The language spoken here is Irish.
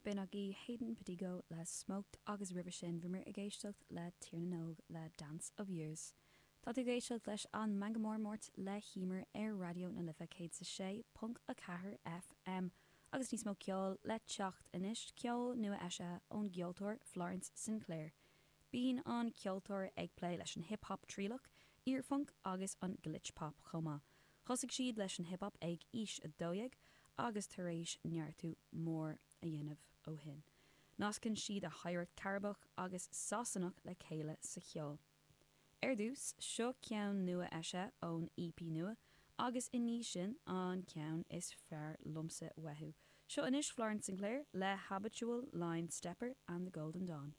B'in agaibh Hayden Padigo le Smoked agus roimhe sin bhíomar ag éisteacht le Tír na nÓg le Dance of Years. Tá tú ag éisteacht leis an Meangadh Mór Máirt le hEmer ar Raidió na Life 106.4 FM agus níos mó ceoil le teacht anois, ceol nua eisithe ón gceoltóir Florence Sinclair. Bíonn an ceoltóir ag plé leis an hip hop trialach, iar-phunc agus an glitch pop chomh maith. Thosaigh siad leis an hip hop ag aois 12 agus tar éis neartú mór a dhéanamh ó shin. Nascann siad a hoidhreacht Chairibeach agus Sasanach le chéile sa cheol. Ar dtús, seo ceann nua eisithe ón EP nua agus i ndiaidh sin an ceann is fearr liomsa uathu. Seo anois Florence Sinclair le Habitual Line Stepper and the Golden Dawn.